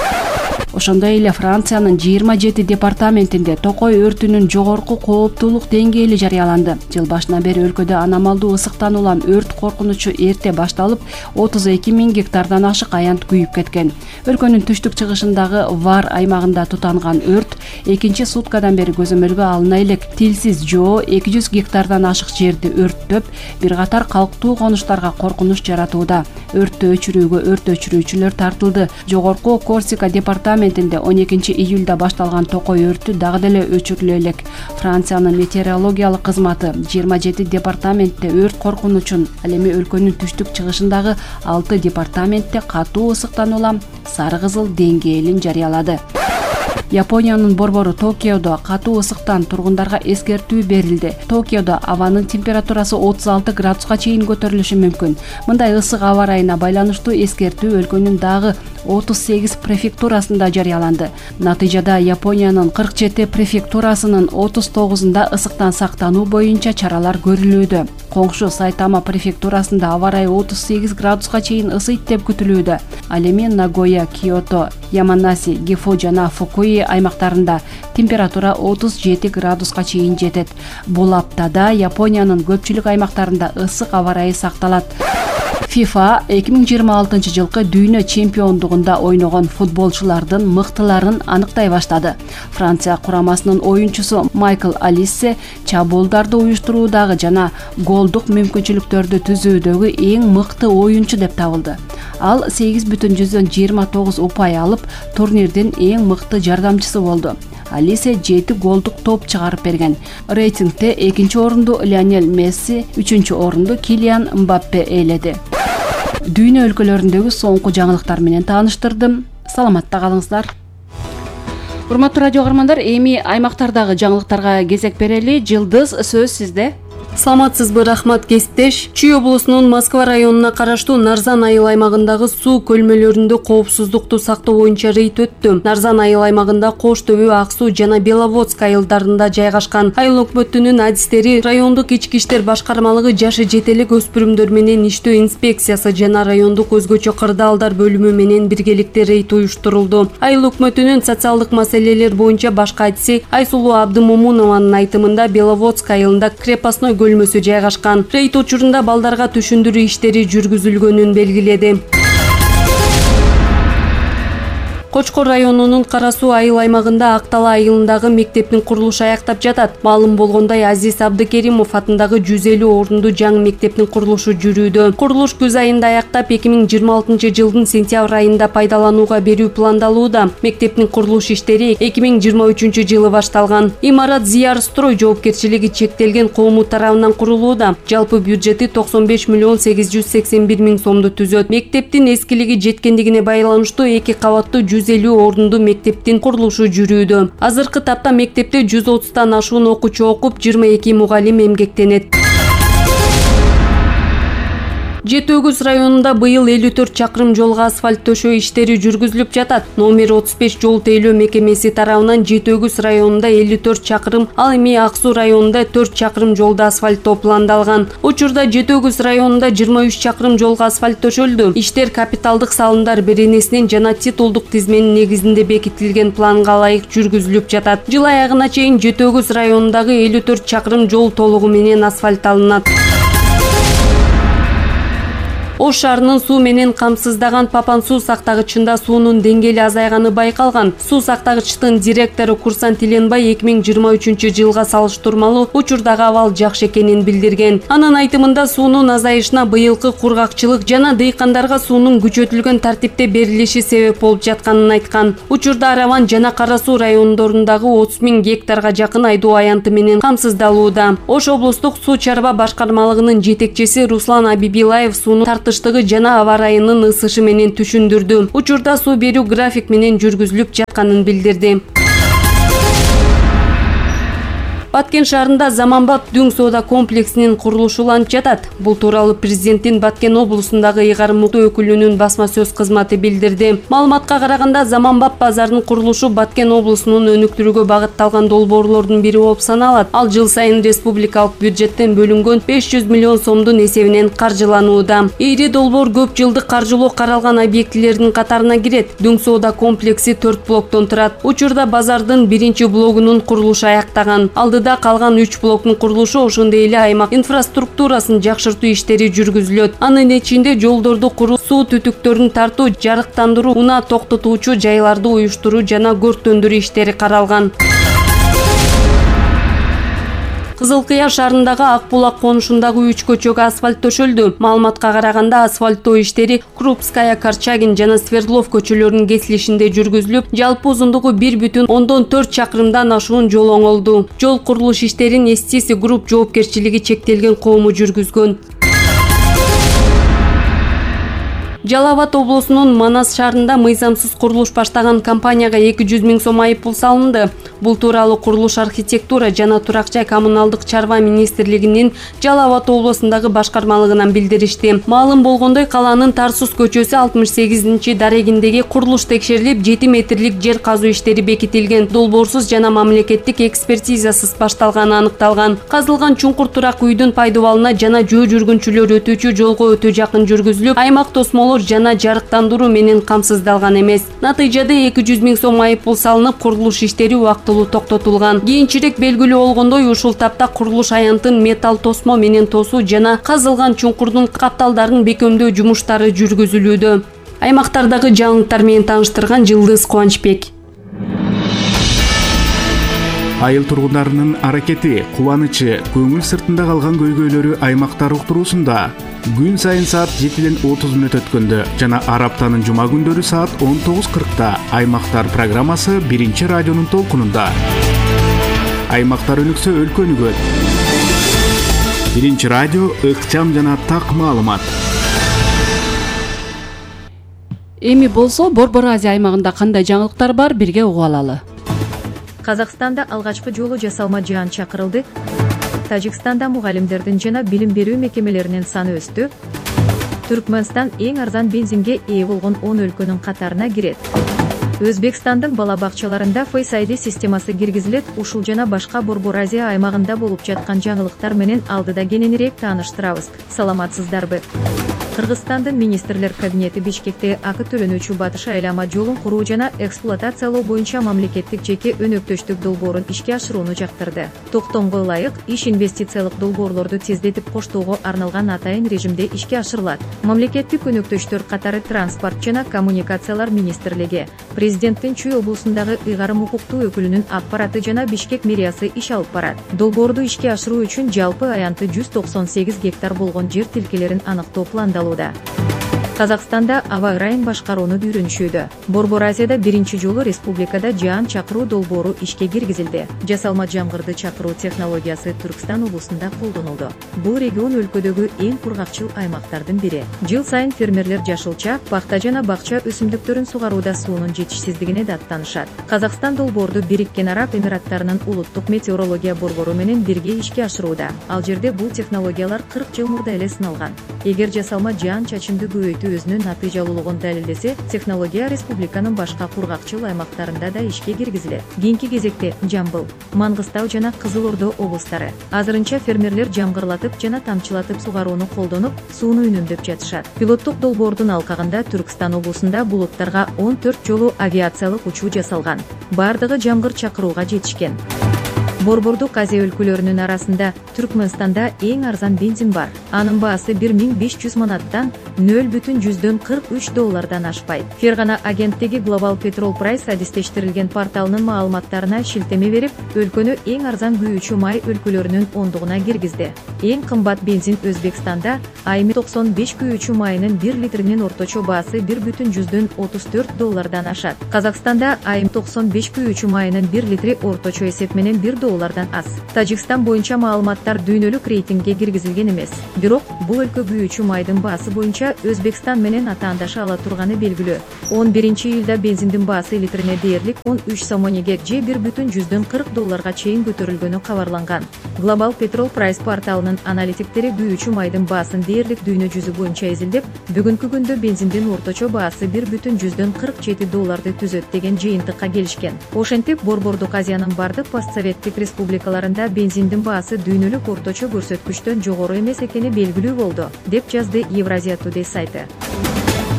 Ошондой эле Франциянын 27 департаментинде токой өртүнүн жогорку кооптуулук деңгээли жарыяланды. Жыл башынан бери өлкөдө аномалдуу ысыктан улам өрт коркунучу эрте башталып, 32 000 гектардан ашык аянт күйүп кеткен. Өлкөнүн түштүк чыгышындагы Вар аймагында тутанган өрт экинчи суткадан бери көзөмөлгө алына элек. Тилсиз жоо 200 гектардан ашык жерди өрттөп, бир катар калктуу конуштарга коркунуч жаратууда. Өрттү өчүрүүгө өрт өчүрүүчүлөр тартылды. Жогорку Корсика департаментинде 12 июлда башталган токой өртү дагы деле өчүрүлө элек. Франциянын метеорологиялык кызматы 27 департаментте өрт коркунучун, ал эми өлкөнүн түштүк чыгышындагы 6 департаментте катуу ысыктан улам сары кызыл деңгээлин жарыялады. Япониянын борбору Токиодо катуу ысыктан тургундарга эскертүү берилди. Токиодо абанын температурасы 36 градуска чейин көтөрүлүшү мүмкүн. Мындай ысык аба ырайына байланыштуу эскертүү өлкөнүн дагы 38 префектурасында жарыяланды. Натыйжада Япониянын 47 префектурасынын 39-ында ысыктан сактануу боюнча чаралар көрүлүүдө. Коңшу Сайтама префектурасында аба ырайы 38 градуска чейин ысыйт деп күтүлүүдө. Ал эми Нагоя, Киото, Яманаси, Гифу жана Фукуи аймактарында температура 37 градуска чейин жетет. Бул аптада Япониянын көпчүлүк аймактарында ысык аба ырайы сакталат. FIFA 2026 жылкы дүйнө чемпиондугунда ойногон футболчулардын мыктыларын аныктай баштады. Франция курамасынын оюнчусу Майкл Алиссе чабуулдарды уюштуруудагы жана голдук мүмкүнчүлүктөрдү түзүүдөгү эң мыкты оюнчу деп табылды. Ал 8,29 упай алып, турнирдин эң мыкты жардамчысы болду. Алисе 7 голдук топ чыгарып берген. Рейтингде экинчи орунду Лионель Месси, үчүнчү орунду Килиан Мбаппе ээледи. Дүйнө өлкөлөрүндөгү соңку жаңылыктар менен тааныштырдым. Саламатта калыңыздар. Урматтуу радио каармандар, эми аймактардагы жаңылыктарга кезек берели. Жылдыз, сөз сизде. Саламатсызбы, рахмат кесиптеш. Чүй облусунун Москва районуна караштуу Нарзан айыл аймагындагы суу көлмөлөрүндө коопсуздукту сактоо боюнча рейд өттү. Нарзан айыл аймагында Кош Төбө, Ак Суу жана Беловодск айылдарында жайгашкан. Айыл өкмөтүнүн адистери райондук ички иштер башкармалыгы жашы жетелик өспүрүмдөр менен иштөө инспекциясы жана райондук өзгөчө кырдаалдар бөлүмү менен биргеликте рейд уюштурулду. Айыл өкмөтүнүн социалдык маселелер боюнча башкы адиси Айсулуу Абдымомунованын айтымында Беловодск айылында крепостной бөлмөсү жайгашкан. Рейд учурунда балдарга түшүндүрүү иштери жүргүзүлгөнүн белгиледи. Кочкор районунун Кара Суу айыл аймагында Актала айылындагы мектептин курулушу аяктап жатат. Маалым болгондой, Азиз Абдыкеримов атындагы 150 орунду жаңы мектептин курулушу жүрүүдө. Курулуш күз айында аяктап 2026 жылдын сентябрь айында пайдаланууга берүү пландалууда. Мектептин курулуш иштери 2023 жылы башталган. Имарат Зиярстрой жоопкерчилиги чектелген коому тарабынан курулууда. Жалпы бюджети 95 миллион 881 миң сомду түзөт. Мектептин эскилиги жеткендигине байланыштуу 2 кабаттуу 150 орунду мектептин курулушу жүрүүдө. Азыркы тапта мектепте 130тан ашуун окуучу окуп, 22 мугалим эмгектенет. Жети Өгүз районунда быйыл 54 чакырым жолго асфальт төшөө иштери жүргүзүлүп жатат. Номер 35 жол тейлөө мекемеси тарабынан Жети Өгүз районунда 54 чакырым, ал эми Ак Суу районунда 4 чакырым жолду асфальттоо пландалган. Учурда Жети Өгүз районунда 23 чакырым жолго асфальт төшөлдү. Иштер капиталдык салымдар беренесинин жана титулдук тизменин негизинде бекитилген планга ылайык жүргүзүлүп жатат. Жыл аягына чейин Жети Өгүз районундагы 54 чакырым жол толугу менен асфальтталынат. Ош шаарынын суу менен камсыздаган Папан суу сактагычында суунун деңгээли азайганы байкалган. Суу сактагычтын директору Курсан Тиленбай 2023 жылга салыштырмалуу учурдагы абал жакшы экенин билдирген. Анын айтымында суунун азайышына быйылкы кургакчылык жана дыйкандарга суунун күчөтүлгөн тартипте берилиши себеп болуп жатканын айткан. Учурда Араван жана Кара Суу райондорундагы 30 миң гектарга жакын айдоо аянты менен камсыздалууда. Ош облустук суу чарба башкармалыгынын жетекчиси Руслан Абибилаев суунун тартыштыгы жана аба ырайынын ысышы менен түшүндүрдү. Учурда суу берүү график менен жүргүзүлүп жатканын билдирди. Баткен шаарында Заманбап Дүң соода комплексинин курулушу уланып жатат. Бул тууралуу президенттин Баткен облусундагы ыйгарым өкүлүнүн басма сөз кызматы билдирди. Маалыматка караганда, Заманбап базарынын курулушу Баткен облусунун өнүктүрүүгө багытталган долбоорлордун бири болуп саналат. Ал жыл сайын республикалык бюджеттен бөлүнгөн 500 миллион сомдун эсебинен каржыланууда. Ири долбоор көп жылдык каржылоо каралган объектилердин катарына кирет. Дүң соода комплекси 4 блоктон турат. Учурда базардын биринчи блогунун курулушу аяктаган. Да калган 3 блоктун курулушу, ошондой эле аймак инфраструктурасын жакшыртуу иштери жүргүзүлөт. Анын ичинде жолдорду куруу, суу түтүктөрүн тартуу, жарыктандыруу, унаа токтотуучу жайларды уюштуруу жана көрктөндүрүү иштери каралган. Кызыл Кыя шаарындагы Ак Булак конушундагы 3 көчөгө асфальт төшөлдү. Маалыматка караганда, асфальттоо иштери Крупская, Корчагин жана Свердлов көчөлөрүнүн кесилишинде жүргүзүлүп, жалпы узундугу 1,4 чакырымдан ашуун жол оңолду. Жол курулуш иштерин STC Group жоопкерчилиги чектелген коому жүргүзгөн. Жалал Абад облусунун Манас шаарында мыйзамсыз курулуш баштаган компанияга 200 миң сом айыппул салынды. Бул тууралуу курулуш, архитектура жана турак жай коммуналдык чарба министрлигинин Жалал Абад облусундагы башкармалыгынан билдиришти. Маалым болгондой, калаанын Тарсус көчөсү 68 дарегиндеги курулуш текшерилип, 7 метрлик жер казуу иштери бекитилген. Долбоорсуз жана мамлекеттик экспертизасыз башталганы аныкталган. Казылган чуңкур турак үйдүн пайдубалына жана жөө жүргүнчүлөр өтүүчү жолго өтө жакын жүргүзүлүп, аймак тосмолор жана жарыктандыруу менен камсыздалган эмес. Натыйжада 200 миң сом айыппул салынып, курулуш иштери убактылуу токтотулган. Кийинчерээк белгилүү болгондой, ушул тапта курулуш аянтын металл тосмо менен тосуу жана казылган чуңкурдун капталдарын бекемдөө жумуштары жүргүзүлүүдө. Аймактардагы жаңылыктар менен тааныштырган Жылдыз Кубанычбек. Айыл тургундарынын аракети, кубанычы, көңүл сыртында калган көйгөйлөрү аймактар уктуруусунда күн сайын саат 7:30 өткөндө жана ар аптанын жума күндөрү саат 19:40 Аймактар программасы биринчи радионун толкунунда. Аймактар өнүксө өлкө өнүгөт. Биринчи радио ыкчам жана так маалымат. Эми болсо Борбор Азия аймагында кандай жаңылыктар бар, бирге угуп алалы. Казакстанда алгачкы жолу жасалма жыйын чакырылды. Тажикстанда мугалимдердин жана билим берүү мекемелеринин саны өстү. Түркмөнстан эң арзан бензинге ээ болгон 10 өлкөнүн катарына кирет. Өзбекстандын бала бакчаларында Face ID системасы киргизилет. Ушул жана башка Борбор Азия аймагында болуп жаткан жаңылыктар менен алдыда кененирээк тааныштырабыз. Саламатсыздарбы? Кыргызстандын министрлер кабинети Бишкекте акы төлөнүүчү Батыш айлама жолун куруу жана эксплуатациялоо боюнча мамлекеттик жеке өнөктөштүк долбоорун ишке ашырууну жактырды. Токтомго ылайык иш инвестициялык долбоорлорду тездетип коштоого арналган атайын режимде ишке ашырылат. Мамлекеттик өнөктөштөр катары Транспорт жана коммуникациялар министрлиги, президенттин Чүй облусундагы ыйгарым укуктуу өкүлүнүн аппараты жана Бишкек мэриясы иш алып барат. Долбоорду ишке ашыруу үчүн жалпы аянты 198 гектар болгон жер тилкелерин аныктоо пландалууда. Казакстанда аба ырайын башкарууну үйрөнүшүүдө. Борбор Азияда биринчи жолу республикада жаан чакыруу долбоору ишке киргизилди. Жасалма жамгырды чакыруу технологиясы Түркстан облусунда колдонулду. Бул регион өлкөдөгү эң кургакчыл аймактардын бири. Жыл сайын фермерлер жашылча, пахта жана бакча өсүмдүктөрүн сугарууда суунун жетишсиздигине даттанышат. Казакстан долбоорду Бириккен Араб Эмираттарынын улуттук метеорология борбору менен бирге ишке ашырууда. Ал жерде бул технологиялар 40 жыл мурда эле сыналган. Эгер жасалма жаан чачымды көбөйтүү өзүнүн натыйжалуулугун далилдесе, технология республиканын башка кургакчыл аймактарында да ишке киргизилет. Кийинки кезекте Жамбыл, Мангыстау жана Кызыл Ордо облустары. Азырынча фермерлер жамгырлатып жана тамчылатып сугарууну колдонуп, сууну үнөмдөп жатышат. Пилоттук долбоордун алкагында Түркстан облусунда булуттарга 14 жолу авиациялык учуу жасалган. Бардыгы жамгыр чакырууга жетишкен. Борбордук Азия өлкөлөрүнүн арасында Түркмөнстанда эң арзан бензин бар. Анын баасы 1500 манаттан $0,43 ашпайт. Фергана агенттиги Global Petrol Price адистештирилген порталынын маалыматтарына шилтеме берип, өлкөнү эң арзан күйүүчү май өлкөлөрүнүн ондугуна киргизди. Эң кымбат бензин Өзбекстанда айымы 95 күйүүчү майынын 1 литринин орточо баасы $1,34 ашат. Казакстанда айымы 95 күйүүчү майынын 1 литри орточо эсеп менен $1 аз. Тажикстан боюнча маалыматтар дүйнөлүк рейтингге киргизилген эмес. Бирок бул өлкө күйүүчү майдын баасы боюнча Өзбекстан менен атаандаша ала турганы белгилүү. 11-июлда бензиндин баасы литрине дээрлик 13 сомонеге же $1,40 чейин көтөрүлгөнү кабарланган. Global Petrol Price порталынын аналитиктери күйүүчү майдын баасын дээрлик дүйнө жүзү боюнча изилдеп, бүгүнкү күндө бензиндин орточо баасы $1,47 түзөт деген жыйынтыкка келишкен. Ошентип, Борбордук Азиянын бардык постсоветтик республикаларында бензиндин баасы дүйнөлүк орточо көрсөткүчтөн жогору эмес экени белгилүү болду, деп жазды Евразия Today сайты.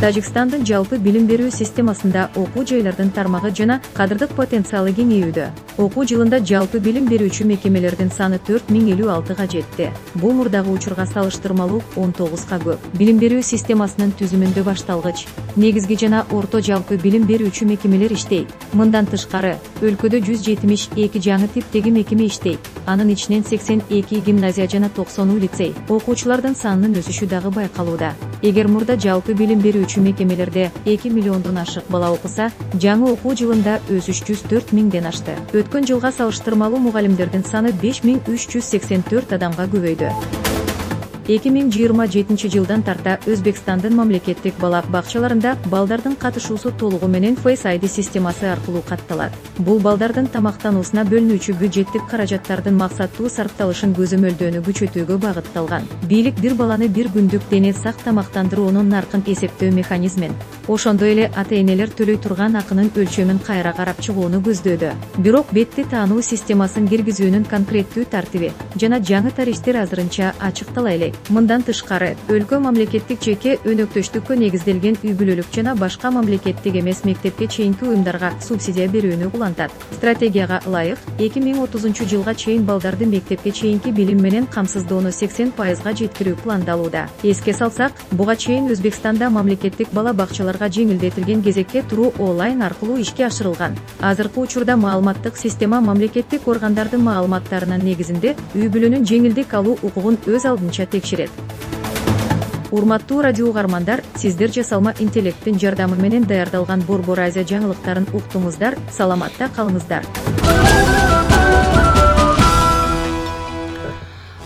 Тажикстандын жалпы билим берүү системасында окуу жайлардын тармагы жана кадырдык потенциалы кеңейүүдө. Окуу жылында жалпы билим берүүчү мекемелердин саны 4056 жетти. Бул мурдагы учурга салыштырмалуу 19 көп. Билим берүү системасынын түзүмүндө башталгыч, негизги жана орто жалпы билим берүүчү мекемелер иштейт. Мындан тышкары, өлкөдө 172 жаңы типтеги мекеме иштейт. Анын ичинен 82 гимназия жана 90 лицей. Окуучулардын санынын өсүшү дагы байкалууда. Эгер мурда жалпы билим берүүчү мекемелерде 2 миллиондон ашык бала окуса, жаңы окуу жылында өсүш 104 миңден ашты. Өткөн жылга салыштырмалуу мугалимдердин саны 5384 адамга көбөйдү. 2027 жылдан тарта Өзбекстандын мамлекеттик бала бакчаларында балдардын катышуусу толугу менен Face ID системасы аркылуу катталат. Бул балдардын тамактануусуна бөлүнүүчү бюджеттик каражаттардын максаттуу сарпталышын көзөмөлдөөнү күчөтүүгө багытталган. Бийлик бир баланы бир күндүк дене сак тамактандыруунун наркын эсептөө механизмин, ошондой эле ата-энелер төлөй турган акынын өлчөмүн кайра карап чыгууну көздөөдө. Бирок бетти таануу системасын киргизүүнүн конкреттүү тартиби жана жаңы тарифтер азырынча ачыктала элек. Мындан тышкары, өлкө мамлекеттик жеке өнөктөштүккө негизделген үй-бүлөлүк жана башка мамлекеттик эмес мектепке чейинки уюмдарга субсидия берүүнү улантат. Стратегияга ылайык, 2030 жылга чейин балдарды мектепке чейинки билим менен камсыздоону 80% жеткирүү пландалууда. Эске салсак, буга чейин Өзбекстанда мамлекеттик бала бакчаларга жеңилдетилген кезекке туруу онлайн аркылуу ишке ашырылган. Азыркы учурда маалыматтык система мамлекеттик органдардын маалыматтарынын негизинде үй-бүлөнүн жеңилдик алуу укугун өз алдынча текшерет. Урматтуу радио угармандар, сиздер жасалма интеллекттин жардамы менен даярдалган Борбор Азия жаңылыктарын уктуңуздар, саламатта калыңыздар.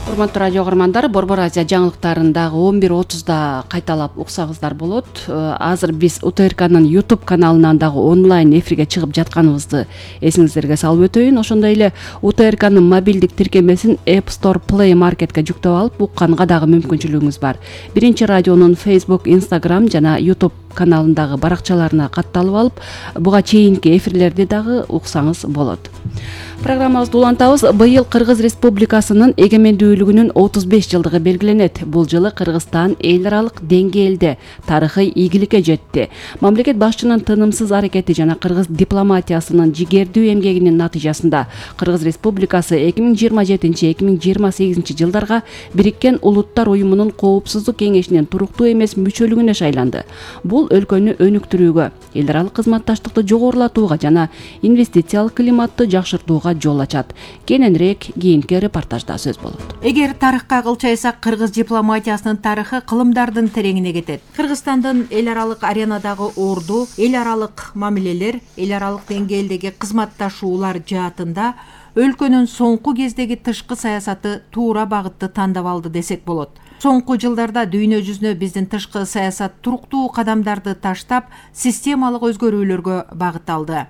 Урматтуу радио угармандар, Борбор Азия жаңылыктарындагы 11:30 кайталап уксаңыздар болот. Азыр биз УТРКнын YouTube каналынан дагы онлайн эфирге чыгып жатканыбызды эсиңиздерге салып өтөйүн. Ошондой эле УТРКнын мобилдик тиркемесин App Store Play Marketке жүктөп алып укканга дагы мүмкүнчүлүгүңүз бар. Биринчи радионун Facebook, Instagram жана YouTube каналындагы баракчаларына катталып алып, буга чейинки эфирлерди дагы уксаңыз болот. Программабызды улантабыз. Быйыл Кыргыз Республикасынын эгемендүүлүгүнүн 35 жылдыгы белгиленет. Бул жылы Кыргызстан эл аралык деңгээлде тарыхый ийгиликке жетти. Мамлекет башчынын тынымсыз аракети жана кыргыз дипломатиясынын жигердүү эмгегинин натыйжасында Кыргыз Республикасы 2027-2028 жылдарга Бириккен Улуттар Уюмунун Коопсуздук кеңешинин туруктуу эмес мүчөлүгүнө шайланды. Бул өлкөнү өнүктүрүүгө, эл аралык кызматташтыкты жогорулатууга жана инвестициялык климатты жакшыртууга жол ачат. Кененирээк кийинки репортажда сөз болот. Эгер тарыхка кылчайсак, кыргыз дипломатиясынын тарыхы кылымдардын тереңине кетет. Кыргызстандын эл аралык аренадагы орду, эл аралык мамилелер, эл аралык деңгээлдеги кызматташуулар жаатында өлкөнүн соңку кездеги тышкы саясаты туура багытты тандап алды десек болот. Соңку жылдарда дүйнө жүзүнө биздин тышкы саясат туруктуу кадамдарды таштап, системалык өзгөрүүлөргө багытталды.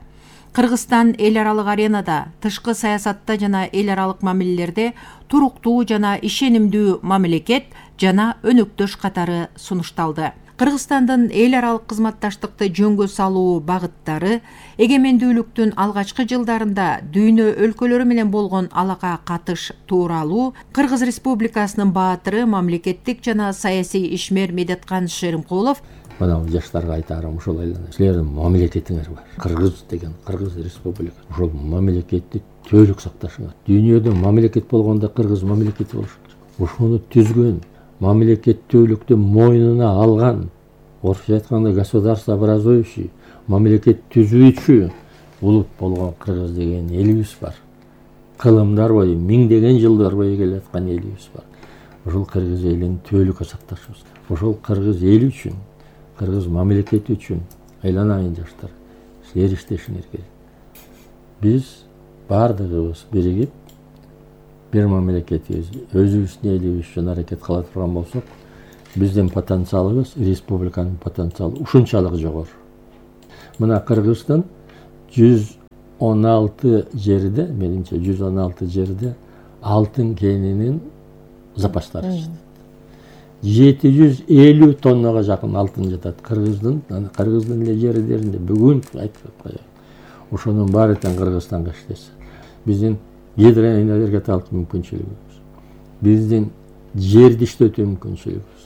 Кыргызстан эл аралык аренада, тышкы саясатта жана эл аралык мамилелерде туруктуу жана ишенимдүү мамлекет жана өнөктөш катары сунушталды. Кыргызстандын эл аралык кызматташтыкты жөнгө салуу багыттары эгемендүүлүктүн алгачкы жылдарында дүйнө өлкөлөрү менен болгон алака катыш тууралуу Кыргыз Республикасынын баатыры, мамлекеттик жана саясий ишмер Медеткан Шеримкулов мына жаштарга айтарым ушул эле. Силердин мамлекетиңер бар. Кыргыз деген Кыргыз Республика. Ушул мамлекетти төлүк сакташыңар. Дүйнөдө мамлекет болгондо Кыргыз мамлекети болуш керек. Ушуну түзгөн, мамлекеттүүлүктү мойнуна алган, орусча айтканда государствообразующий, мамлекет түзүүчү улут болгон Кыргыз деген элибиз бар. Кылымдар бою, миңдеген жылдар бою келаткан элибиз бар. Ушул Кыргыз элин төлүккө сакташыбыз. Ушул Кыргыз эли үчүн, Кыргыз мамлекети үчүн айланайын жаштар, силер иштешиңер керек. Биз бардыгыбыз биригип бир мамлекетибиз, өзүбүздүн элибиз үчүн аракет кыла турган болсок, биздин потенциалыбыз, республиканын потенциалы ушунчалык жогору. Мына Кыргыздын 116 жерде, менимче 116 жерде алтын кенинин запастары жатат. 750 тоннага жакын алтын жатат. Кыргыздын эле жерлеринде бүгүн айтып коеюн. Ошонун баары тең Кыргызстанга иштесе. Биздин гидроэнергетикалык мүмкүнчүлүгүбүз, биздин жерди иштетүү мүмкүнчүлүгүбүз,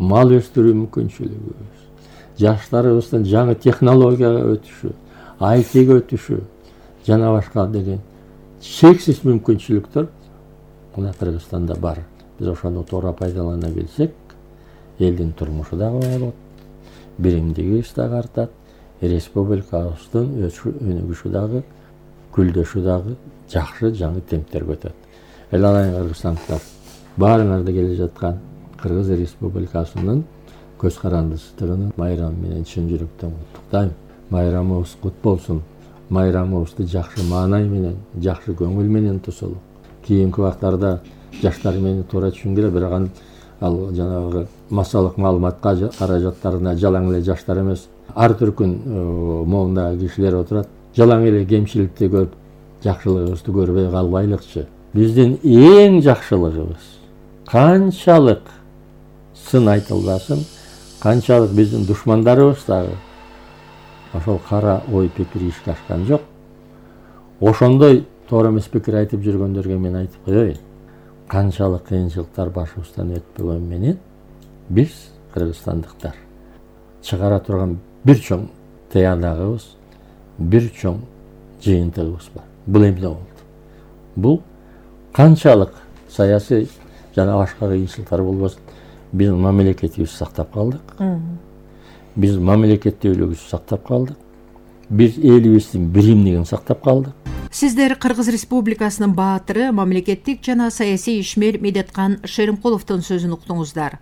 мал өстүрүү мүмкүнчүлүгүбүз, жаштарыбыздын жаңы технологияга өтүшү, ITге өтүшү жана башка деген чексиз мүмкүнчүлүктөр мына Кыргызстанда бар. Биз ошону туура пайдалана билсек, элдин турмушу дагы болот, биримдигибиз дагы артат, республикабыздын өнүгүшү дагы, гүлдөшү дагы жакшы жаңы темптерге өтөт. Эланайын кыргызстандыктар, баарыңарды келе жаткан Кыргыз Республикасынын көз карандысыздыгын майрамы менен чын жүрөктөн куттуктайм. Майрамыбыз кут болсун. Майрамыбызды жакшы маанай менен, жакшы көңүл менен тосолу. Кийинки убактарда жаштар мени туура түшүнгүлө, бирок ал жанагы массалык маалыматка каражаттарына жалаң эле жаштар эмес, ар түркүн моундагы кишилер отурат. Жалаң эле кемчиликти көрүп, жакшылыгыбызды көрбөй калбайлыкчы. Биздин эң жакшылыгыбыз канчалык сын айтылбасын, канчалык биздин душмандарыбыз дагы ошол кара ой пикир ишке ашкан жок. Ошондой туура эмес пикир айтып жүргөндөргө мен айтып коеюн. Канчалык кыйынчылыктар башыбыздан өтпөгөн менен биз кыргызстандыктар чыгара турган бир чоң таянагыбыз, бир чоң жыйынтыгыбыз бар. Бул эмне болду? Бул канчалык саясий жана башка кыйынчылыктар болбосун, биз мамлекетибизди сактап калдык. Биз мамлекеттүүлүгүбүздү сактап калдык. Биз элибиздин биримдигин сактап калдык. Сиздер Кыргыз Республикасынын баатыры, мамлекеттик жана саясий ишмер Медеткан Шеримкуловдун сөзүн уктуңуздар.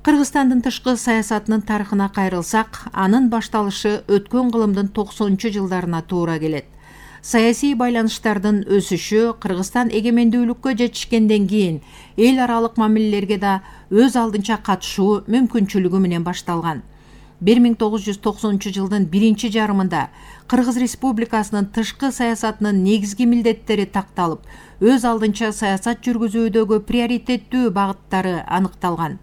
Кыргызстандын тышкы саясатынын тарыхына кайрылсак, анын башталышы өткөн кылымдын 90-жылдарына туура келет. саясий байланыштардын өсүшү Кыргызстан эгемендүүлүккө жетишкенден кийин эл аралык мамилелерге да өз алдынча катышуу мүмкүнчүлүгү менен башталган. 1990 жылдын биринчи жарымында Кыргыз Республикасынын тышкы саясатынын негизги милдеттери такталып, өз алдынча саясат жүргүзүүдөгү приоритеттүү багыттары аныкталган.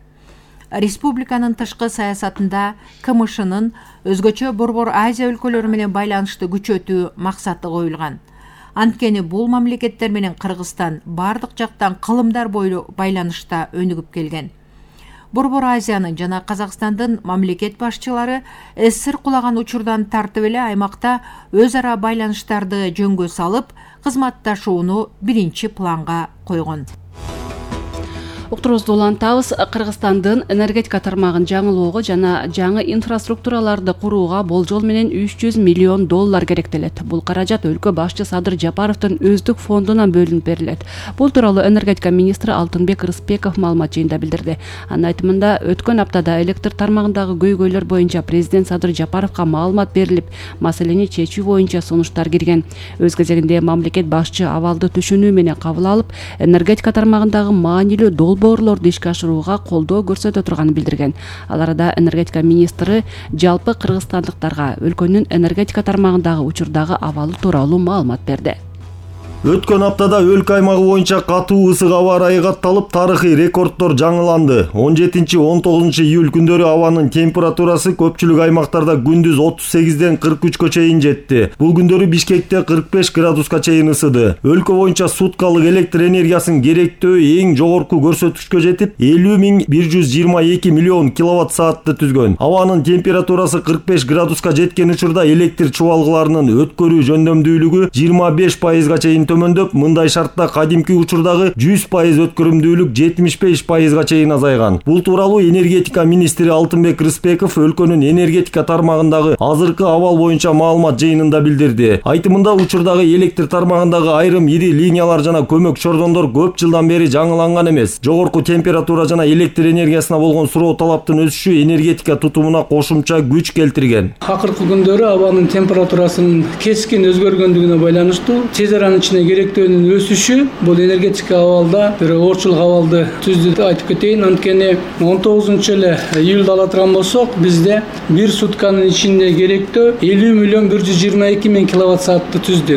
Республиканын тышкы саясатында КМШнын өзгөчө Борбор Азия өлкөлөрү менен байланышты күчөтүү максаты коюлган. Анткени бул мамлекеттер менен Кыргызстан бардык жактан кылымдар бойлуу байланышта өнүгүп келген. Борбор Азиянын жана Казакстандын мамлекет башчылары СССР кулаган учурдан тартып эле аймакта өз ара байланыштарды жөнгө салып, кызматташууну биринчи планга койгон. Уктуруубузду улантабыз. Кыргызстандын энергетика тармагын жаңылоого жана жаңы инфраструктураларды курууга болжол менен $300 миллион керектелет. Бул каражат өлкө башчы Садыр Жапаровдун өздүк фондунан бөлүнүп берилет. Бул тууралуу энергетика министри Алтынбек Рыспеков маалымат жыйында билдирди. Анын айтымында, өткөн аптада электр тармагындагы көйгөйлөр боюнча президент Садыр Жапаровго маалымат берилип, маселени чечүү боюнча сунуштар кирген. Өз кезегинде мамлекет башчы абалды түшүнүү менен кабыл алып, энергетика тармагындагы маанилүү долбоорлорду ишке ашырууга колдоо көрсөтө турганын билдирген. Ал арада энергетика министри жалпы кыргызстандыктарга өлкөнүн энергетика тармагындагы учурдагы абалы тууралуу маалымат берди. Өткөн аптада өлкө аймагы боюнча катуу ысык аба ырайы катталып, тарыхый рекорддор жаңыланды. 17-19 июль күндөрү абанын температурасы көпчүлүк аймактарда күндүз 38ден 43кө чейин жетти. Бул күндөрү Бишкекте 45 градуска чейин ысыды. Өлкө боюнча суткалык электр энергиясын керектөө эң жогорку көрсөткүчкө жетип, 50.122 миллион киловатт саатты түзгөн. Абанын температурасы 45 градуска жеткен учурда электр чубалгыларынын өткөрүү жөндөмдүүлүгү 25%га чейин төмөндөп, мындай шартта кадимки учурдагы 100% өткөрүмдүүлүк 75%га чейин азайган. Бул тууралуу энергетика министри Алтынбек Рыспеков өлкөнүн энергетика тармагындагы азыркы абал боюнча маалымат жыйынында билдирди. Айтымында, учурдагы электр тармагындагы айрым ири линиялар жана көмөк чордондор көп жылдан бери жаңыланган эмес. Жогорку температура жана электр энергиясына болгон суроо талаптын өсүшү энергетика тутумуна кошумча күч келтирген. Акыркы күндөрү абанын температурасынын кескин өзгөргөндүгүнө байланыштуу тез аранын ичинде керектөөнүн өсүшү бул энергетика абалда бир оорчулук абалды түздү деп айтып кетейин. Анткени 19 эле июлда ала турган болсок, бизде бир сутканын ичинде керектөө 50.122 киловатт саатты түздү.